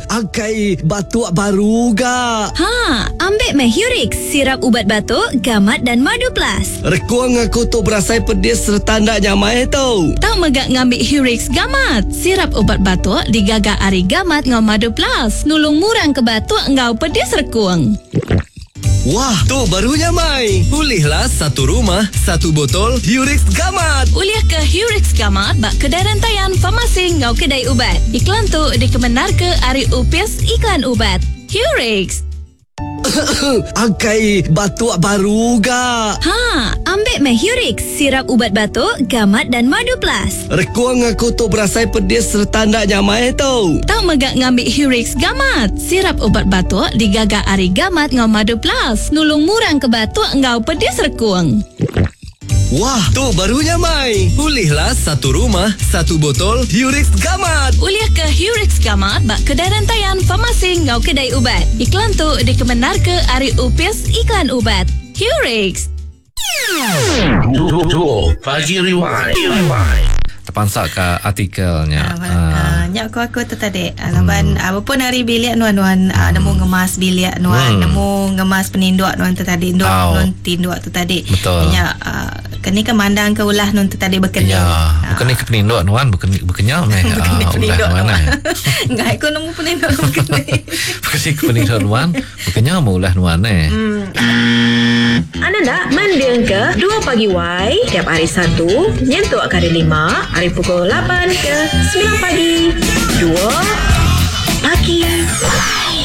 Akai batuk baru ga. Ha, ambik meh Hurix, sirap ubat batuk, gamat dan madu plus. Rekung aku tu berasai pedis sereta enda nyamai tu. Tau mega ngambi Hurix Gamat, sirap ubat batuk digaga ari gamat enggau madu plus, nulung murang ke batuk enggau pedis rekung. Wah, tu baru nyamai. Ulihlah satu rumah, satu botol Hurix Gamat. Ulih ke Hurix Gamat ba kedai rentayan, farmasi enggau kedai ubat. Iklan tu dikemendarka ari Opis Iklan Ubat. Hurix. Akai batuk baru ga. Ha, ambik meh Hurix, sirap ubat batuk, gamat dan madu plus. Rekung aku tu berasai pedis sereta enda nyamai tu. Tau mega ngambi Hurix Gamat, sirap ubat batuk digaga ari gamat enggau madu plus, nulung murang ke batuk enggau pedis rekung. Wah, tu baru nyamai. Ulihlah satu rumah, satu botol Hurix Gamat. Ulih ke Hurix Gamat ba kedai rentayan, farmasi enggau kedai ubat. Iklan tu dikemendarka ari Opis Iklan Ubat. Hurix. Pagi Rewind. Tepansa ka artikel nya. Ah, nya ku aku tu tadi. Laban apa pun ari bilik nuan nuan nemu ngemas bilik nuan, nemu ngemas peninduk nuan tu tadi, endur nuan tinduk tu tadi. Betul. Nya keni ke mandang ke ulah nuan tu tadi bekeni. Ya, bekeni ke peninduk nuan bekeni bekenya meh ulah nuan. Enggai ku nemu peninduk bekeni. Bekeni ke peninduk nuan. Bekenya meh ulah nuan eh. Anda enda mendingka Dua Pagi Wai tiap hari Satu nyentuk ke hari Lima ari pukul lapan ke semilan pagi. Dua Pagi Wai.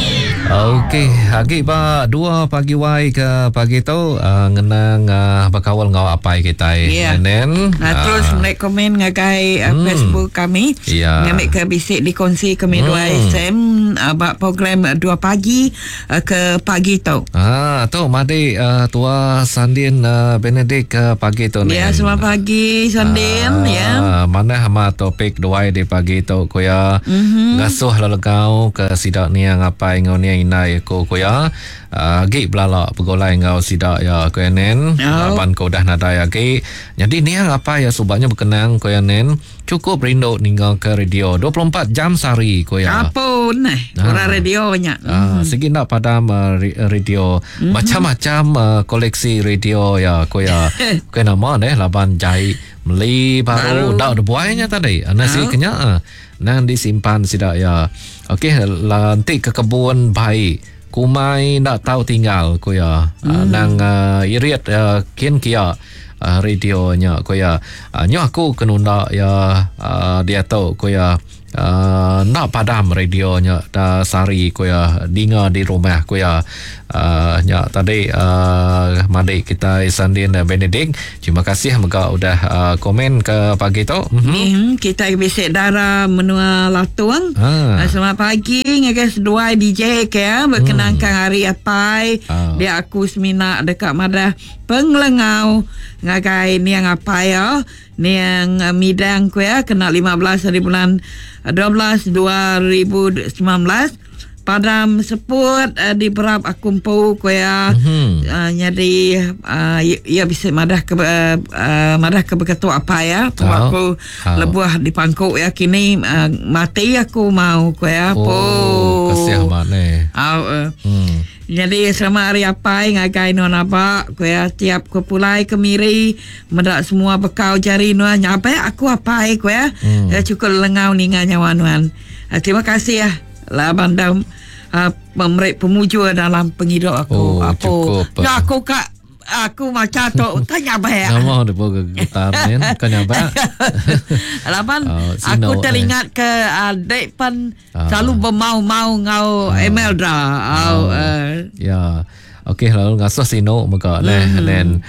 Okey, agi ba dua pagi wai ke pagi tu uh, ngenang uh, bekaul enggau apai kitai. Yeah. Nen. Nah, terus uh, meri komen ngagai uh, Facebook kami. Yeah. Ngambil ke bisi dikongsi kami dua SM uh, ba program 2 pagi uh, ke pagi tu. Ah, tu madi uh, tua Sandin uh, Benedict ke pagi tu ni. Ya, selamat pagi Sandin ya. Manah amat topik duai di pagi tu ku ya. Mm-hmm. Ngasuh lelegau ke sida niang apai enggau niang indai aku ku ya. Uh, agi belala begulai enggau sida ya ku ya nen. Oh. Laban ku udah nadai agi. Jadi niang apai ya subaknya berkenang ku ya nen. Cukup rindu ninga ke radio 24 jam sehari ku iya. Apun eh orang radio nya. Ah, sigi enda padam uh, radio. Mm-hmm. Macam-macam uh, koleksi radio ya ku iya. Bukan nama deh laban jai meli baru enda udah buai nya tadi. Ana si kenya ah. Nang disimpan sida ya. Okey enti ke kebun bai kumai enda tau tinggal ku iya. Mm. Nang uh, irit uh, kin kia. Radio nya ku iya. Nyu aku ke nunda iya diatu ku iya. Enda padam radio nya da sehari ku iya dinga di rumah ku iya. Nya tadi madi kitai Sandin Benedict. Terima kasih mega udah komen ke pagi tu. Mm-hmm. Kitai bisi dara menua Latung. Selamat pagi ngagai seduai DJ ke ya berkenangkan hari apai. Dia aku semina deka madah Pengelengau ngagai niang apai iya, niang midang ku iya kena 15 hari bulan 12 2019 padam seput di berap aku empu ku iya. Nyadi iya bisi madah ke madah ke beketu apai iya tau aku lebuh dipangku iya kini mati aku mau ku iya. Oh, kasih amat neh. Au. Nyadi selamat hari apai ngagai nuan aba, ku iya tiap ku pulai ke Miri meda semua bekau jari nuan nya abai aku apai ku iya. Hmm. Chukup lelengau ninga nyawa nuan. Terima kasih laban dah meri pemujur dalam pengidup aku. Oh, cukup. Nya aku ka Aku macha tu utai nyabak. Nama dia pun getar ni, bukan nyabak. Laban oh, aku teringat ke adik pan uh, selalu bermau-mau ngau uh, Emelda. Oh, uh. Ya. Okey lalu ngasuh sinu mega neh mm. Nen.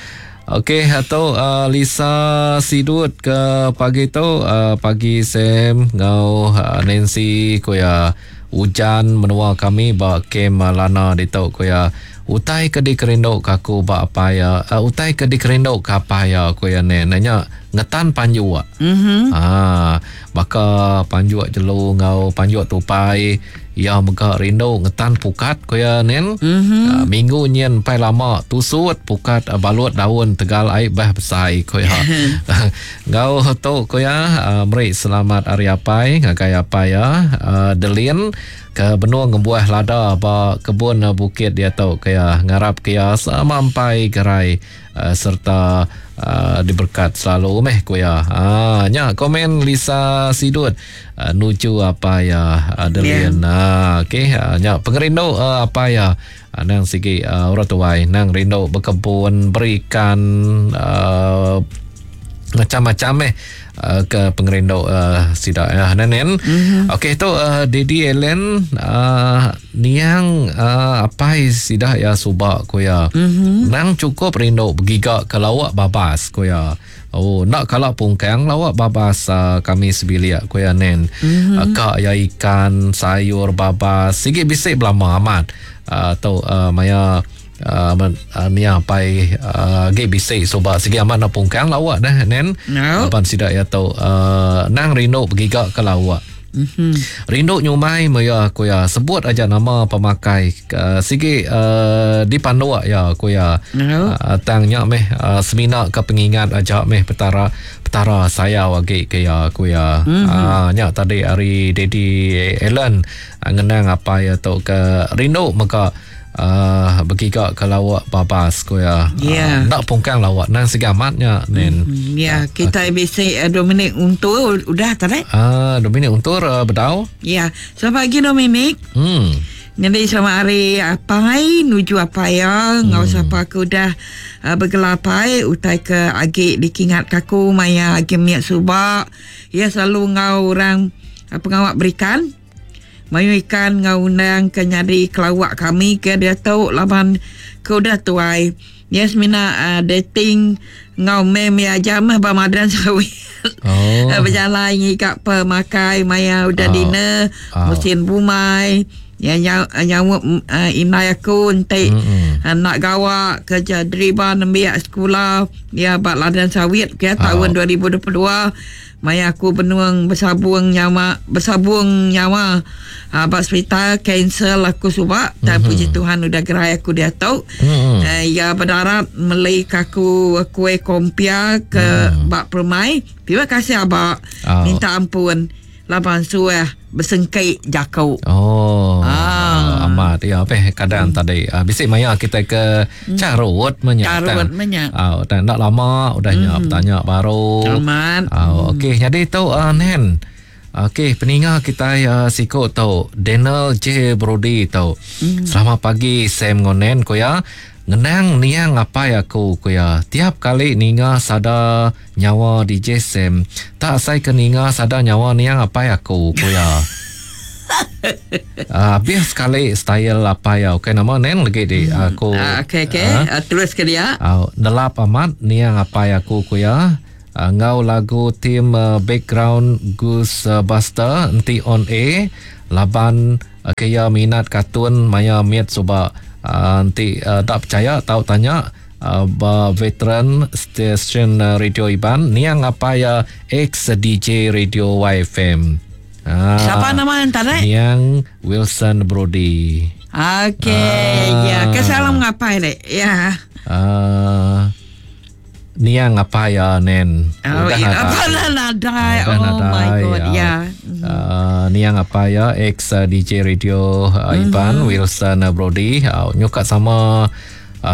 Okey atau uh, Lisa Sidut ke pagi tu uh, pagi Sam ngau uh, Nancy ku ya ujan menua kami ba kem Lana ditu ku ya. Utai ke dikerindu ka aku ba apai iya, utai ke dikerindu ka apai iya, ku iya neh. Nya ngetan panjuk. Mhm. Ah, baka panjuk jelu enggau panjuk tupai, iya mega rindu ngetan pukat ku iya nin. Mhm. Ah, minggu nyin empai lama tusut pukat balut daun tegal ai bah besai ku iya. Enggau tu ku iya meri selamat hari apai ngagai apai iya Delin ke benung ngembuah lada ba kebun bukit diatu ku iya. Ngarap ke iya semampai gerai sereta diberkat selalu meh ku iya. Ha nya komen Lisa Sidut nuju apai iya Adeline. Ha okey nya pengerindu apai iya nang sigi orang tuai nang rindu bekebun berikan macam-macam meh ke pengerindu sida ya nenen. Okey tu Daddy Ellen niang apai sida ya suba ku ya. Nang cukup rindu begiga ke lauk babas ku ya. Oh enda kala pungkang lauk babas kami sebilik ku ya nen. Ka ya ikan sayur babas sigi bisi belama amat. Tu maya Nia apai agi bisi suba sigi amat nak pungkang lauk dah nen. No. Laban sida iya tu nang rindu begiga ke lauk. Mm-hmm. Rindu nyumai me iya ku iya sebut aja nama pemakai sigi dipanduk iya ku iya. No. Tang nya meh semina ke pengingat aja meh petara petara sayau agi ke iya ku iya. Mm-hmm. Nya tadi ari Daddy Allen ngenang apai iya tu ke rindu mega begiga ke lauk babas ku iya. Ya. Enda pungkang lauk nang sigi amat nya nen. Ya, kita bisi Dominic Untur udah tadi. Dominic Untur bedau. Ya, selamat pagi Dominic. Jadi selamat hari apai nuju apai ya ngau sapa aku udah bergelar apai utai ke agi dikingat ke aku maya agi miak suba. Ya selalu ngau orang pengawak berikan. Mayuh ikan ngau undang ke nyadi kelawak kami ke diatu laban ke udah tuai. Ya semina dating ngau mem ya aja meh ba Madan Sawit. Oh. Berjalai ngiga pemakai maya udah dinner, musim bumai. Ya nyawap indai aku enti nak gawak kerja deriba nembiak sekolah ya ba Ladang Sawit ke tahun 2022. Maya aku benung bersabung nyawa, bersabung nyawa ba hospital cancel aku suba. Dan puji Tuhan udah gerai aku diatu. Ya berdarat meli ke aku kuih kompia ke bak permai. Terima kasih abak. Minta ampun laban suah bersengkik jakuk. Oh. Amat ya apa kadang tadi bisik maya kita ke carut menyak. Carut menyak. Dan tak lama udah nya bertanya baru. Amat. Okey jadi tu Nen. Okey peninga kita siko tu Daniel J Brody tu. Selamat pagi Sam Ngonen ko ya. Ngenang niang apai aku ko ya. Tiap kali ninga sada nyawa DJ Sam, tak asai ke ninga sada nyawa niang apai aku ko ya. Habis sekali style apai ya. Okey nama Nen lagi di aku. Okey okey terus ke dia. Nelap amat niang apai aku ko ya. Ngau lagu team background Ghostbuster enti on air laban kaya minat kartun maya miat suba. Enti tak percaya tau tanya ba veteran station radio Iban niang apai ya ex DJ Radio YFM. Siapa nama antara? Niang Wilson Brody. Okey, ya, ke salam ngapai dek. Ya. Niang apa ya nen? Oh, udah apa nadai. Oh my god, ya. Niang apa ya ex DJ Radio Iban Wilson Brody nyukat sama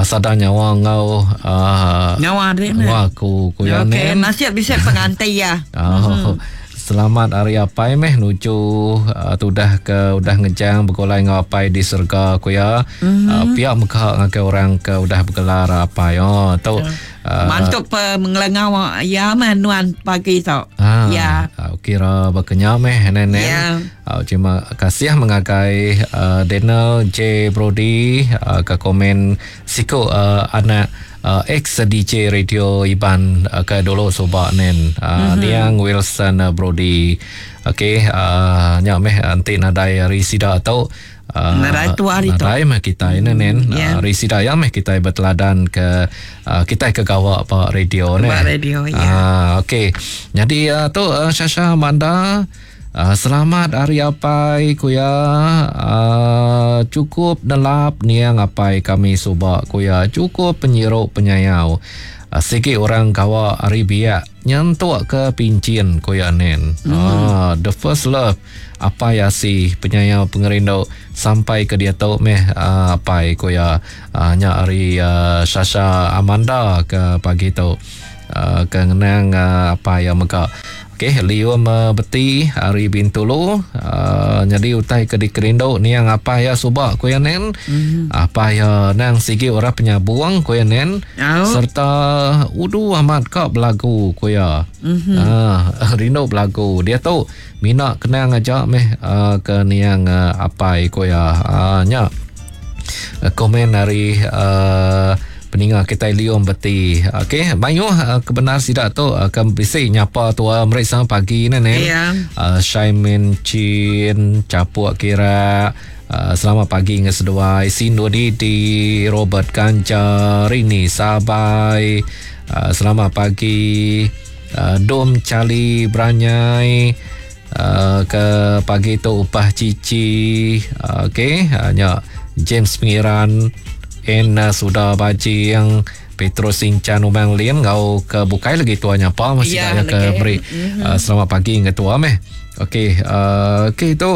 sada nyawa ngau nyawa dek. Nyawa aku ku ya nen. Okey, nasib bisa pengantin ya. Selamat hari apai meh nuju tudah ke udah ngejang bergulai ngau apai di surga ku ya. Pihak meka ngagai orang ke udah bergelar apai. Oh tu mantuk pe mengelengau ya manuan pagi tu. Ya. Kira berkenya meh nenek. Ya. Terima kasih mengagai Daniel J Brody ke komen siko anak ex DJ Radio Iban ke dulu subak nen Niang Wilson Brody. Okey nya meh anti nadai hari sida tu. Nadai tua ditu. Nadai meh kitai ne nen. Ya. Ari sida iya meh kitai beteladan ke kitai ke gawa ba radio ne. Ba radio, ya. Okey. Nyadi tu Shasha Amanda selamat hari apai ku iya. Chukup nelap niang apai kami suba ku iya. Chukup penyiru penyayau. Sigi orang gawa ari biak nyentuk ke pinchin ku iya nen. The first love. Apai asi penyayau pengerindu sampai ke diatu meh apai ku iya nya ari Shasha Amanda ke pagi tu ke ngenang apai iya mega. Okey Lium Beti ari Bintulu nyadi utai ke dikerindu niang apai iya suba ku iya nen. Apai iya nang sigi orang penyabung ku iya nen serta udu amat ka belagu ku iya. Rindu belagu diatu. Mina kenang aja meh ke niang apai ku iya. Nya komen ari peninga kitai Liong Beti. Okey, mayuh kebenar sida tu ke bisi nyapa tua meri selamat pagi ne ne. Yeah. Shaimin Chin, Chapuk Kira, selamat pagi ngan seduai Sindu Didi, Robert Kanja, Rini Sabai. Selamat pagi. Dom Charlie Beranyai ke pagi tu upah cici okey nya James Pengiran N Suda Bajing Petrus Sinchan Umang Lin ngau ke bukai lagi tua nyapa masih ya, ke beri mm-hmm. selamat pagi ngan tua meh. Okey okey tu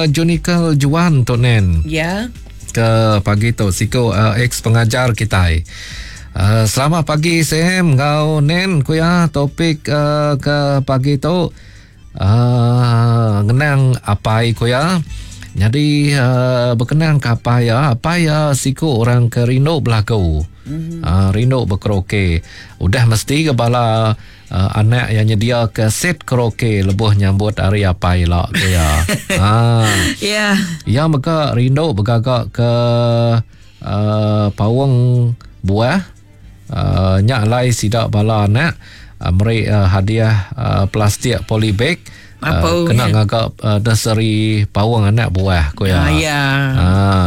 Junical Juan tu nen. Ya. Ke pagi tu siku ex pengajar kitai. Selamat pagi Sam enggau Nen ku iya topik ke pagi tu ngenang apai ku iya. Nyadi bekenang ke apai iya, apai iya siku orang ke rindu belagu. Rindu bekaraoke. Udah mesti ke bala anak iya nyediaka set karaoke lebuh nyambut hari apai ila ku iya. Iya mega rindu begaga ke paung buah nya alai sida bala anak meri hadiah plastik polybag kena ngaga nursery paung anak buah ku iya.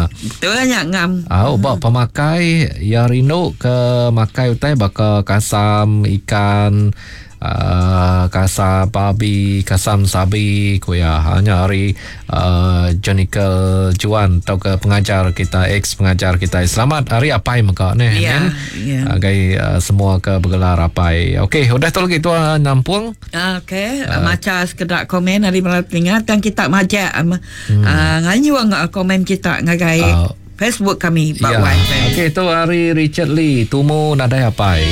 Betul nya ngam. Au ba pemakai iya rindu ke makai utai baka kasam ikan kasam babi, kasam sabi ku iya. Nya ari Jonical Juan tauka pengajar kita, ex pengajar kita. Selamat hari apai mega neh. Ya, ya. Agai semua ke begelar apai. Okey, udah tu lagi tua nampung. Okey, macha sekeda komen ari bala peninga tang kita majak nganyung komen kita ngagai Facebook kami ba YFM. Okey, tu ari Richard Lee, tumu nadai apai.